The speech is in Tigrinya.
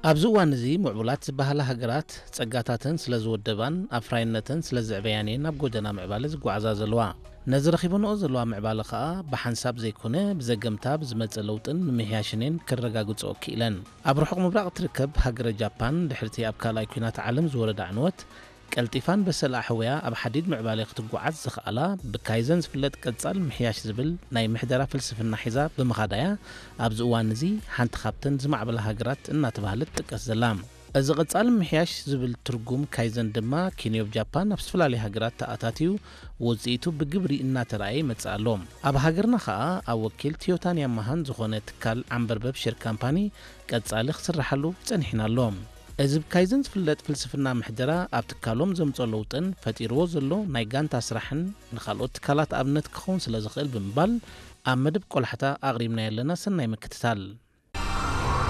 ኣብዚ እዋን እዚ ምዕቡላት ዝበሃላ ሃገራት ጸጋታተን ስለ ዝወደባን ኣፍራይነተን ስለ ዝዕበያን እየን ናብ ጎደና ምዕባለ ዝጓዓዛ ዘለዋ። ነዚ ረኺበንኦ ዘለዋ ምዕባለ ከኣ ብሓንሳብ ዘይኮነ ብዘገምታ ብዝመጸ ለውጥን ምምሕያሽን እየን ከረጋግጽኦ ክኢለን። ኣብ ርሑቕ ምብራቕ እትርከብ ሃገረ ጃፓን ድሕርቲ ኣብ ካልኣይ ኲናት ዓለም ዝወረዳ ዕንወት ቀልጢፋን በሰል ኣሕውያ ኣብ ሓዲድ ምዕባለ ክትጓዓዝ ዝኸኣላ ብካይዘን ዝፍለጥ ቀጻል ምሕያሽ ዝብል ናይ ምሕደራ ፍልስፍና ሒዛ ብምኻዳ እያ። ኣብዚ እዋን እዚ ሓንቲ ካብተን ዝማዕበላ ሃገራት እናተባህለት ትጥቀስ ዘላ። እዚ ቀጻል ምሕያሽ ዝብል ትርጉም ካይዘን ድማ ኪንዮብ ጃፓን ኣብ ዝተፈላለዩ ሃገራት ተኣታትዩ ውጽኢቱ ብግብሪ እናተራእየ ይመጽእ ኣሎ። ኣብ ሃገርና ከኣ ኣብ ወኪል ቶዮታን ያማሃን ዝኾነ ትካል ዓንበርበብ ሼር ካምፓኒ ቀጻሊ ክስርሓሉ ጸኒሕና ኣሎ። እዚ ብካይዘን ዝፍለጥ ፍልስፍና ምሕደራ ኣብ ትካሎም ዘምጾ ለውጥን ፈጢርዎ ዘሎ ናይ ጋንታ ስራሕን ንኻልኦት ትካላት ኣብነት ክኸውን ስለ ዝኽእል ብምባል ኣብ መደብ ቆላሕታ ኣቕሪብና ኣለና። ሰናይ ምክትታል።